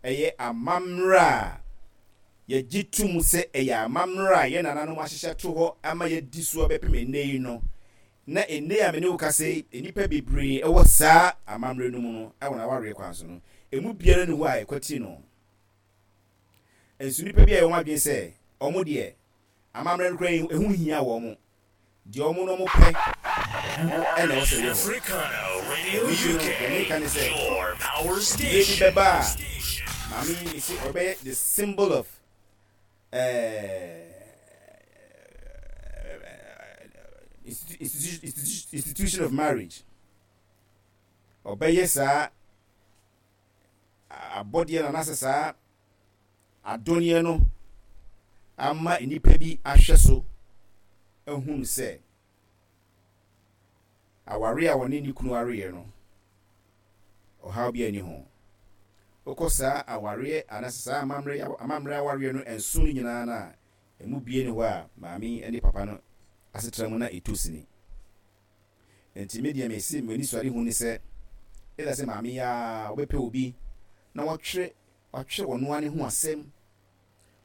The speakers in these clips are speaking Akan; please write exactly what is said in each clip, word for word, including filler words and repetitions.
Ɛyɛ amammerɛ a yɛgye to mu sɛ ɛyɛ amammerɛ a yɛn nananom ahyehyɛ to hɔ ama yɛadi so abɛpem ɛnnɛ yi no. Na ɛnnɛ a me ne wo kasa yi, nnipa bebree wɔ saa amammerɛ no mu no, wɔ n'awareɛ kwan so no, ɛmu biara nni hɔ a ɛkwati no. Nso nnipa bi ayɛ wɔn adwene sɛ wɔn deɛ, amammerɛ no koraa ɛho nhia wɔn. Deɛ wɔn no wɔpɛ na ɛwɔ sɛ ɛyɛ hɔ. Ɛno nti no, deɛ meka ne sɛ, mmerɛ bi bɛba a, maame yi mese ɔbɛyɛ the symbol of eh, institution of marriage. Ɔbɛyɛ saa abɔdeɛ no anaasɛ saa adɔneɛ no ama nnipa bi ahwɛ so ahunu sɛ aware a wɔne ne kunu areɛ no, ɔhaw bi ani ho. Wokɔ saa awareɛ anaasɛ saa amammerɛ amammerɛ awareɛ no nson no nyinaa no a, ɛmu bie ne hɔ a maame ne papa no asetra mu na ɛtɔ sini. Enti me deɛ mese m'anisoadehu ne sɛ, either sɛ maame yi ara ɔbɛpɛ obi na watwerɛ watwerɛ ɔno ara ne ho asɛm,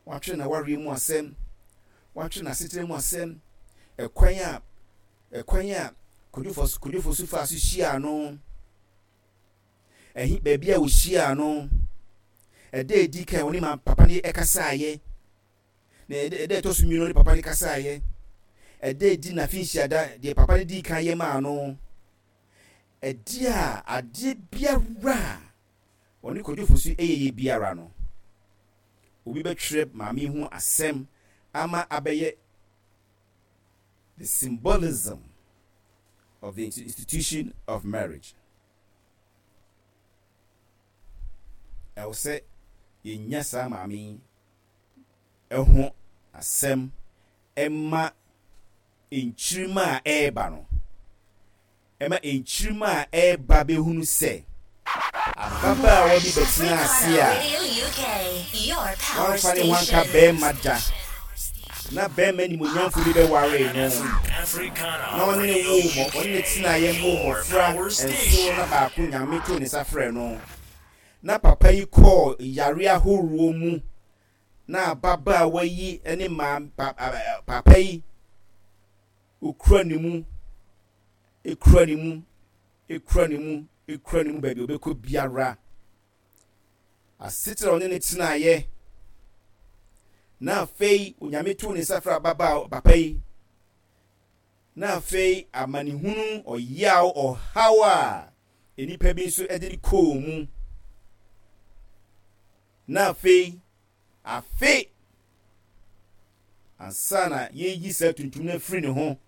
watwerɛ n'awareɛ mu asɛm, watwerɛ n'asetena mu asɛm, ɛkwan a ɛkwan a Kwadwo Kwadwo Fosu faa so hyiaa no, ɛhe baabi a ɔhyiaa no, ɛda edi kan ɔne ma papa no ɛkasaeɛ, na ɛda ɛtɔ so mmienu ɔne papa no kasaeɛ, ɛda edi n'afinhyia deɛ papa no dii kan yɛ maa no, ɛdeɛ a adeɛ biara a ɔne Kwadwo Fosu yɛyɛ biara no, obi bɛtwerɛ maame ho asɛm ama abɛyɛ the symbolism of the institution of marriage. Ɛwɔ sɛ yɛnya saa maame yi ho asɛm ɛma nkyirima a ɛreba no, ɛma nkyirima a ɛreba bɛhunu sɛ ababaawa bi bɛtena ase a wamfa ne ho anka bɛrima da, na bɛrima nimonyamfo bi bɛwaree no, na ɔne ne woo mɔ ɔne ne tenaeɛ moo mmɔfra nson, na baako Nyame too ne nsa frɛɛ no, na papa yi kɔɔ yare ahoroɔ mu, na ababaawa yi ne maa pa, papa yi okura ne mu, ekura ne mu, ekura ne mu, ekura ne mu baabi ɔbɛkɔ biara. Asetena ɔne ne tenaeɛ, na afei Onyame too ne nsa frɛ ababaawa papa yi, na afei amanehunu, ɔyaw, ɔhaw a nnipa bi nso de no kɔɔ mu, na afei afe ansa na yɛyi saa tuntum no afiri ne ho,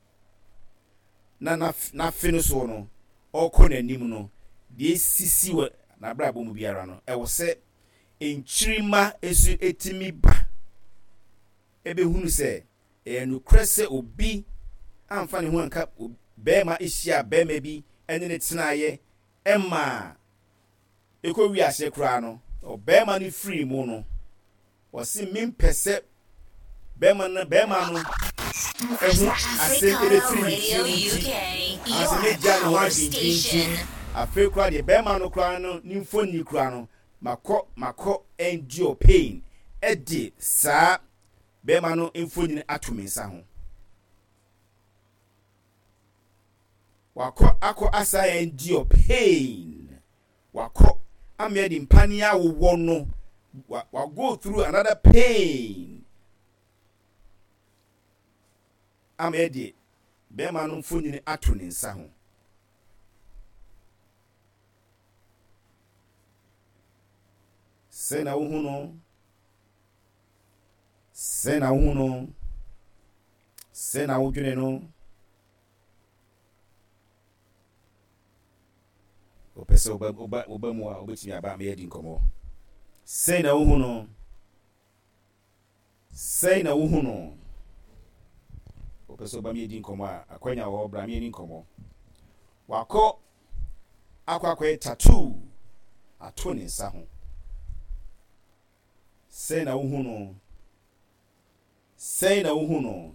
na n'afe no soɔ no ɔrekɔ n'anim no, deɛ esisi wɔ n'abrabɔ mu biara no, ɛwɔ sɛ nkyirimma nso etumi ba ebehunu sɛ ɛyɛ nokorɛ sɛ obi amfa ne ho anka bɛrima hyia bɛrima bi ne ne tenaeɛ ɛmaa ɛkɔ wiase koraa no, ɔbarima no firii mu no, ɔse mempɛ sɛ bɛrima no bɛrima no ɛho asɛm ɛbɛfiri ne tirim nti, anaasɛ mɛgya ne ho adwendwen nti, afei koraa deɛ bɛrima no koraa no ne mfoni koraa no, makɔ makɔ endure pain ɛde saa bɛrima no mfonini ato me nsa ho. Wakɔ akɔ asa endure pain. Wakɔ ama yɛde mpaneɛ awowɔ no. Wa, wa go through another pain. Ama yɛde bɛrima no mfonini ato ne nsa ho. Sɛ na wohu no. Sɛ na wohu no. Sɛ na wodwene no. Wopɛ sɛ woba woba woba mu a, wobɛtumi aba ama yɛadi nkɔmmɔ. Sɛn na wohu no? Sɛn na wohu no? Wopɛ sɛ woba ma yɛdi nkɔmmɔ a, akwanya wɔ hɔ, bra ma yɛni nkɔmmɔ. Wakɔ akɔ akɔyɛ tattoo ato ne nsa ho. Sɛn na wohu no? Sɛn na wohu no?